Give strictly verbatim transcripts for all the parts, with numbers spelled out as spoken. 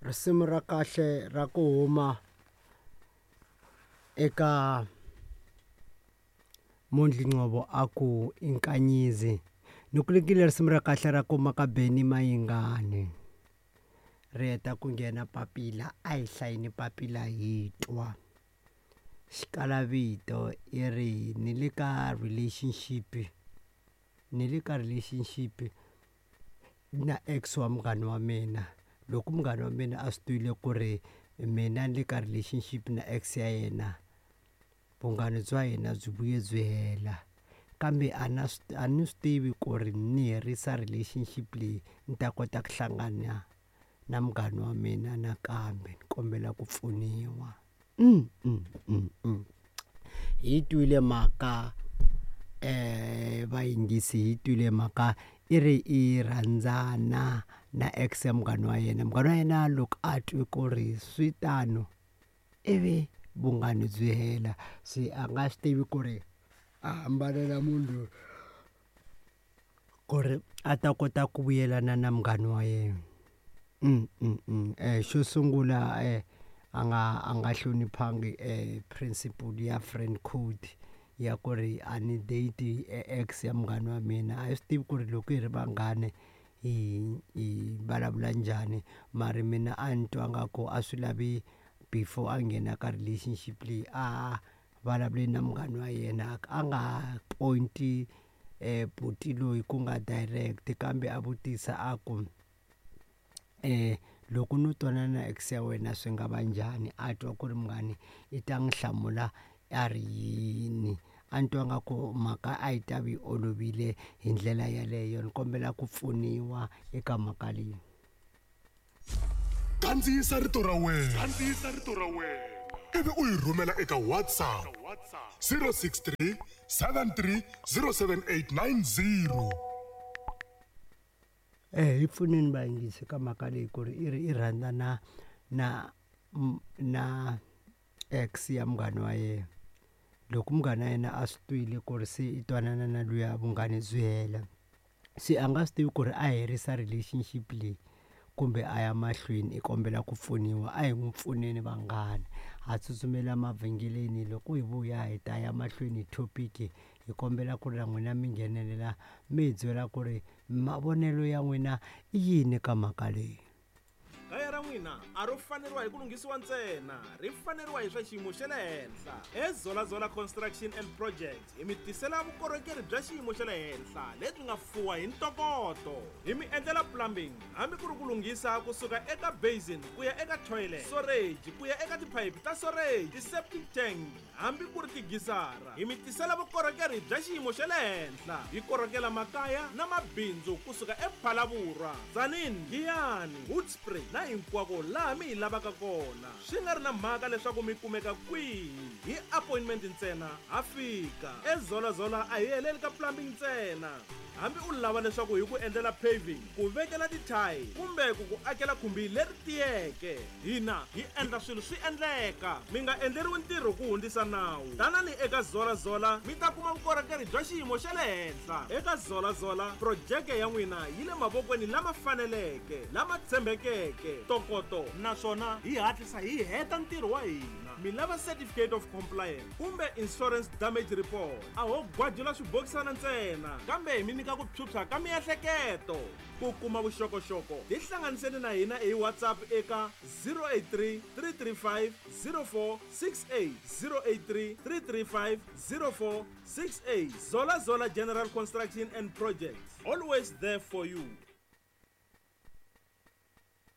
Risimu ra kahle ra ku huma eka Mondli Ngcobo a ku Inkanyizi. Ni ku nyikile risimu ra kahle ra kuma ka Benny Mayengani. Ri heta ku nghena papila a hi hlayini papila hi twa. Xikalavito i ri ni le ka relationship ni le ka relationship na ex wa munghana wa mina. Loko munghana wa mina a swi tivile ku ri mina ni le ka relationship na ex ya yena vunghana bya hina byi vuye byi hela kambe a na swi a ni swi tivi ku ri ni herisa relationship leyi ni ta kota ku hlangana na munghana wa mina nakambe ni kombela ku pfuniwa. Mm, mm, mm, mm. Hi twile mhaka eh vayingisi hi twile mhaka i ri i rhandzana na ex ya munghana wa yena. Munghana wa yena loko a twe ku ri swi tano ivi vunghana byi hela se a nga swi tivi ku ri a hambana na munhu loyi ku ri a ta kota ku vuyelana na munghana wa yena. Mm, mm, mm. Eh, xo sungula eh, a nga a nga hloniphangi eh, principle ya friend code ya ku ri a ni date ex ya munghana wa mina. A hi swi tivi ku ri loko hi ri vanghani hi hi vulavula njhani mara mina a ni twa nga ku a swi lavi before a nghena ka relationship leyi a vulavule na munghana wa yena a nga point eh buti loyi ku nga direct kambe a vutisa a ku eh loko no twanana na ex ya wena swi nga va njhani. A twa ku ri munghani i ta n'wi hlamula a ri yini. A ni twa nga ku mhaka a yi ta vi yi olovile hi ndlela yaleyo. Ni kombela ku pfuniwa eka mhaka leyi. Kandziyisa rito ra wena. Kandziyisa rito ra wena ivi u yi rhumela eka WhatsApp zero six three seven three zero seven eight nine zero. Eh hi pfuneni vayingisi ka mhaka leyi ku ri i ri i rhandza na na na ex ya munghana wa yena. Loko munghana wa yena a swi twile ku ri se i twanana na luya vunghana byi hela se a nga swi tivi ku ri a herisa relationship leyi kumbe a ya mahlweni. I kombela ku pfuniwa. A hi n'wi pfuneni vanghana. Ha tsutsumela mavhengeleni loko hi vuya hi ta ya mahlweni hi topic. Hi kombela ku ri na n'wina mi nghenelela mi hi byela ku ri mavonelo ya n'wina i yini ka mhaka leyi. Kaya ra n'wina a ro faneriwa hi ku lunghisiwa ntsena, ri faneriwa hi swa xiyimo xa le henhla. EZolaZola Construction and Project hi mi tisela vukorhokeri bya xiyimo xa le henhla lebyi nga fuwa hi ntokoto. Hi mi endlela plumbing hambi ku ri ku lunghisa kusuka eka basin ku ya eka toilet, storage ku ya eka tiphayiphi ta storage, ti-septic tank hambi ku ri tigisara. Hi mi tisela vukorhokeri bya xiyimo xa le henhla. Hi korhokela makaya na mabindzu kusuka ePhalaborwa, Tzaneen, Giyani, Hoedspruit na hinkwako laha mi hi lavaka kona. Swi nga ri na mhaka leswaku mi kumeka kwihi, hi appointment ntsena ha fika. EZolaZola a hi heleli ka plumbing ntsena. Hambi u lava leswaku hi ku endlela paving, ku vekela ti-tile kumbe ku ku akela khumbi leri tiyeke, hina hi endla swilo swi endleka. Mi nga endleriwi ntirho ku hundzisa nawu. Tanani eka ZolaZola mi ta kuma vukorhokeri bya xiyimo xa le henhla. Eka ZolaZola projeke ya n'wina yi le mavokweni lama faneleke, lama tshembekeke, ntokoto naswona hi hatlisa hi heta ntirho wa hina. Mi lava certificate of compliance kumbe insurance damage report, a ho gwajula swibokisana ntsena kambe hi mi nyika ku phyuphya ka miehleketo. Ku kuma vuxokoxoko tihlanganiseni na hina hi WhatsApp eka zero eight three three three five zero four six eight, zero eight three three three five zero four six eight. ZolaZola General Construction and Projects, always there for you.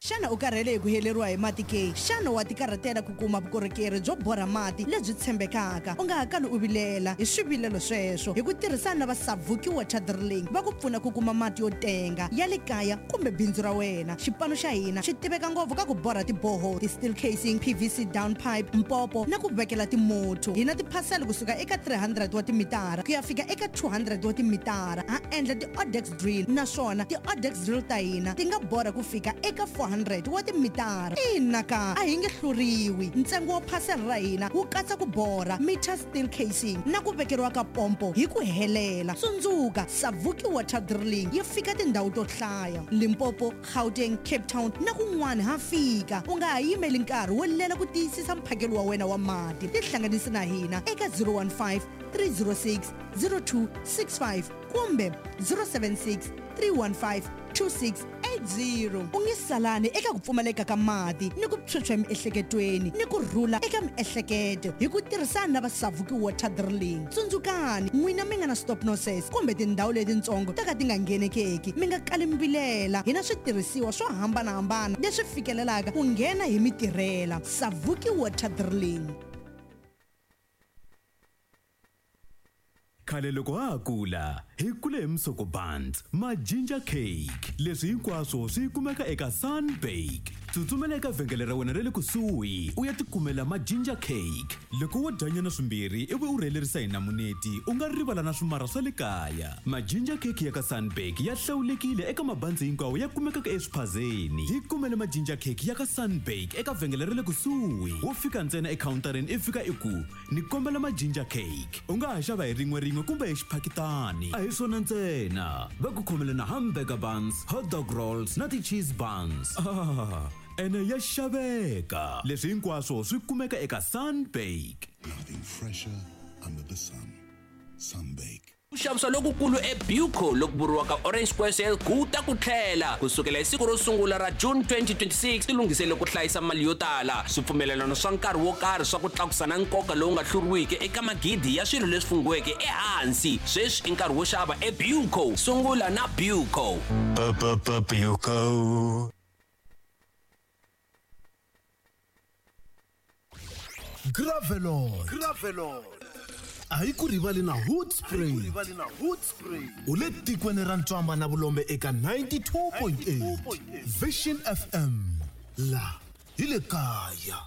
Xana u karhele hi ku heleriwa hi mati ke? Xana wa tikarhatela ku kuma vukorhokeri byo borha mati lebyi tshembekaka? U nga ha kali u vilela hi swivilelo sweswo. Hi ku tirhisana na va Savuki Water Drilling va ku pfuna ku kuma mati yo tenga ya le kaya kumbe bindzu ra wena. Xipano xa hina xi tiveka ngopfu ka ku borha tiboho, ti-steel casing, P V C down pipe, mpopo na ku vekela timotho. Hi na tiphasela kusuka eka three hundred wa timitara ku ya fika eka two hundred wa timitara. Ha endla ti-Odex drill naswona ti-Odex drill ta hina ti nga borha ku fika eka four hundred hundred wa timitara. Ina ka a hi nge hluriwi. Ntsengo wa phasela ra hina wu katsa ku borha, meter steel casing na ku vekeriwa ka pompo hi ku helela. Tsundzuka, Savuki Water Drilling yi fika tindhawu to hlaya, Limpopo, Gauteng, Cape Town na kun'wana ha fika. U nga ha yimeli nkarhi wo lela ku tiyisisa mphakelo wa wena wa mati. Tihlanganisi na hina eka zero one five, three zero six, zero two six five kumbe zero seven six, three one five, two six eight zero. U nge salani eka ku pfumaleka ka mati ni ku phyuphya emiehleketweni ni ku rhula eka miehleketo hi ku tirhisana na va Savuki Water Drilling. Tsundzukani, n'wina mi nga na stop nonsense kumbe tindhawu letitsongo to ka ti nga nghenekeki, mi nga kali mbilela. Hi na switirhisiwa swo hambanahambana leswi fikelelaka ku nghena hi mitirhela. Savuki Water Drilling. Khale loko ha ha kula, hi kule hi misoko buns, ma ginger cake. Leswi hinkwaswo swi kumeka eka Sunbake. Tsutsumela eka vhengele ra wena ra le kusuhi u ya tikumela ma ginger cake. Loko wo dyanyana swimbirhi ivi u rhelerisa hi namuneti, u nga rivala na swimara swa le kaya. Ma ginger cake ya ka Sunbake ya hlawulekile eka mabanzi hinkwawo ya kumekaka eswiphazeni. Hi kumele ma ginger cake ya ka Sunbake eka vhengele ra le kusuhi. Wo fika ntsena ekhawuntarini i fika i ku ni kombela ma ginger cake. U nga ha xava hi rin'we rin'we kumbe hi xiphakitani. A hi swona ntsena, va ku khomele na hamburger buns, hot dog rolls na ti-cheese buns. Ah, ene ya xaveka. Leswi hinkwaswo swi kumeka eka Sunbake. Nothing fresher under the sun. Sunbake. Ku xavisa lokukulu eBuco loku vuriwaka Orange Square Sale ku ta ku tlhela kusukela hi siku ro sungula ra June twenty twenty-six. Tilunghisele ku hlayisa mali yo tala, swipfumelelano swa nkarhi wo karhi swa ku tlakusa na nkoka lowu nga hluriwiki eka magidi ya swilo leswi fungiweke ehansi. Sweswi i nkarhi wo xava eBuco. Sungula na Buco. Buco. Gravelon. Gravelon. A hi ku rivali na Hood Spray. U le tikweni ra Ntswamba na Vulombe eka ninety-two point eight. Vision F M. La hi le kaya.